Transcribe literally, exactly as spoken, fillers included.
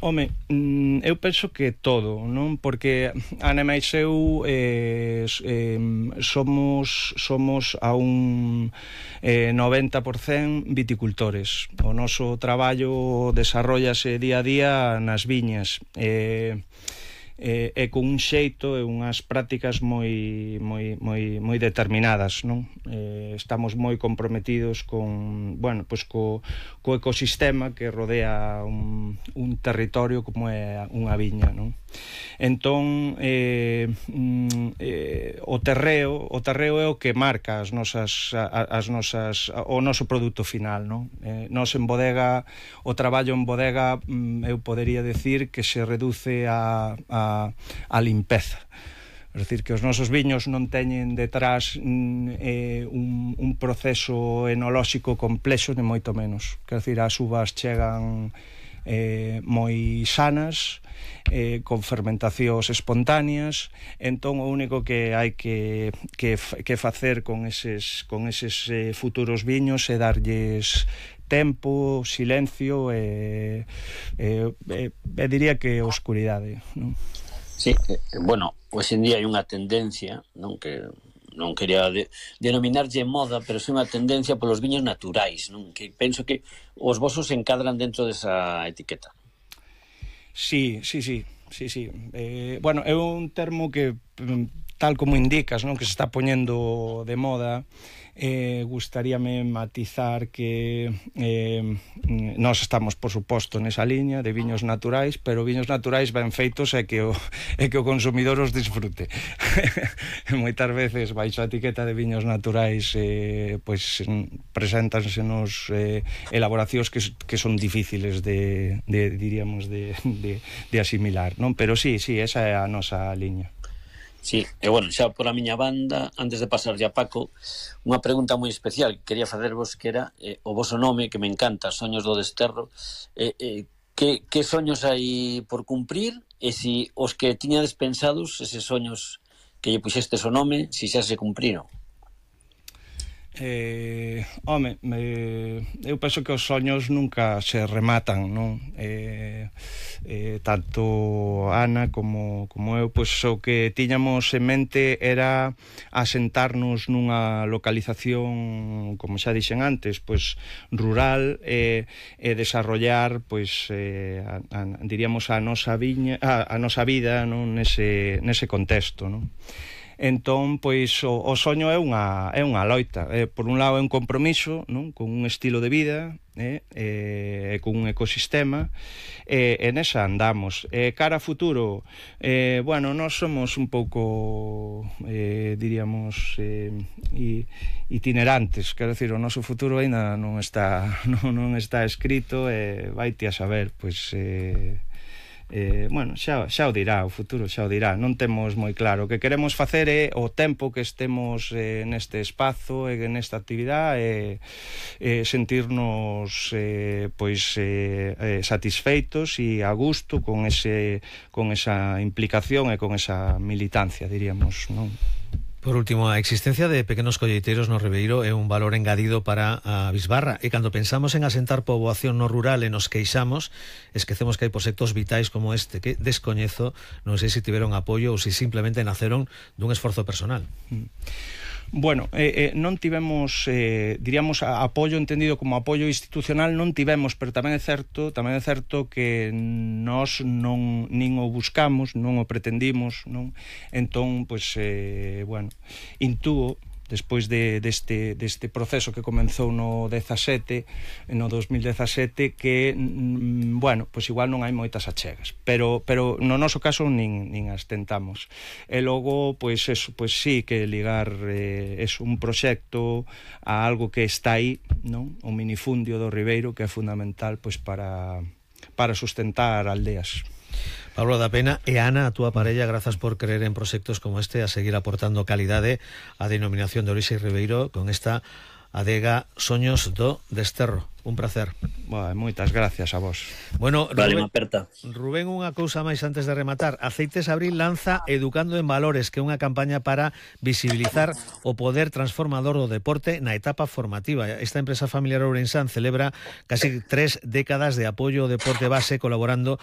Home, eu penso que todo, non? Porque Ana máis eu eh, eh, somos somos a un eh, noventa por cento viticultores. O noso traballo desarrollase día a día nas viñas. Eh, e, e con un xeito e unhas prácticas moi moi moi moi determinadas, non? Eh, estamos moi comprometidos con, bueno, pois co co ecosistema que rodea un un territorio como é unha viña, non? Entón, eh, eh, o terreo, o terreo é o que marca as nosas as nosas o noso produto final, non? Eh, nos en bodega, o traballo en bodega, eu podería decir que se reduce a a a limpeza. É dicir, que os nosos viños non teñen detrás eh, un, un proceso enolóxico complexo, nem moito menos. Quer dicir, as uvas chegan eh, moi sanas, eh, con fermentacións espontáneas, entón o único que hai que, que, que facer con eses, con eses eh, futuros viños é darlles tempo, silencio e, e, e, e diría que oscuridade, non? Sí, eh, bueno, hoxe en día hai unha tendencia, non, que non quería de, denominarlle moda, pero é unha tendencia polos viños naturais, non? Que penso que os vosos se encadran dentro desa etiqueta. Sí, sí, sí, sí, sí. Eh, bueno, é un termo que, tal como indicas, non, que se está poñendo de moda. Eh, gustaríame matizar que eh, nós estamos, por suposto, nesa liña de viños naturais, pero viños naturais ben feitos é que o, é que o consumidor os disfrute. Moitas veces baixo a etiqueta de viños naturais eh, pois preséntansenos eh, elaboracións que, que son difíciles de, de diríamos, de, de, de asimilar, non? Pero sí, sí, esa é a nosa liña. Sí, e bueno, xa por a miña banda, antes de pasarlle a Paco, unha pregunta moi especial que quería facervos, que era eh, o voso nome, que me encanta, Soños do Desterro, eh, eh, que, que soños hai por cumprir, e si os que tiñades pensados, eses soños que lle puxestes o nome, si xa se cumpriron. Eh, home, me, eu penso que os soños nunca se rematan, non? Eh, eh, tanto Ana como, como eu, pois o que tiñamos en mente era asentarnos nunha localización, como xa dixen antes, pois rural, e, e desarrollar, pois eh, a, a, diríamos a nosa viña, a, a nosa vida, non? Nese, nese contexto, non? Entón, pois, o, o soño é unha, é unha loita. Eh, por un lado é un compromiso, non? Con un estilo de vida, eh, eh, con un ecosistema, e eh, nesa andamos. Eh, cara a futuro, eh, bueno, nós somos un pouco, eh, diríamos, eh, itinerantes, quero dicir, o noso futuro ainda non está, non, non está escrito, e eh, vaite a saber, pois... Eh, Eh, bueno, xa, xa o dirá, o futuro xa o dirá. Non temos moi claro. O que queremos facer é o tempo que estemos eh, neste espazo e nesta actividade, eh, eh, sentirnos eh, pois eh, eh, satisfeitos e a gusto con ese con esa implicación e con esa militancia, diríamos, non? Por último, a existencia de pequenos colleiteiros no Ribeiro é un valor engadido para a bisbarra, e cando pensamos en asentar poboación no rural e nos queixamos, esquecemos que hai proxectos vitais como este que descoñezo, non sei se tiveron apoio ou se simplemente naceron dun esforzo personal. Bueno, eh, eh, non tivemos, eh, diríamos, a, apoio entendido como apoio institucional non tivemos, pero tamén é certo, tamén é certo que nós non nin o buscamos, non o pretendimos, non? Entón, pois, eh, bueno, intúo despois de, deste, deste proceso que comenzou no dezasete, no dos mil dezasete, que, mm, bueno, pois igual non hai moitas achegas, pero, pero no noso caso nin, nin as tentamos. E logo, pois, eso, pois sí, que ligar eh, es un proxecto a algo que está aí, non? O minifundio do Ribeiro, que é fundamental, pois, para, para sustentar aldeas. Pablo da Pena e Ana, a túa parella, grazas por creer en proxectos como este, a seguir aportando calidade á denominación de orixe Ribeiro con esta adega Soños do Desterro. Un placer. Bueno, moitas gracias a vos. Bueno, vale, Rubén, aperta. Rubén, unha cousa máis antes de rematar. Aceites Abril lanza Educando en Valores, que é unha campaña para visibilizar o poder transformador do deporte na etapa formativa. Esta empresa familiar ourensán celebra casi tres décadas de apoio ao deporte base colaborando con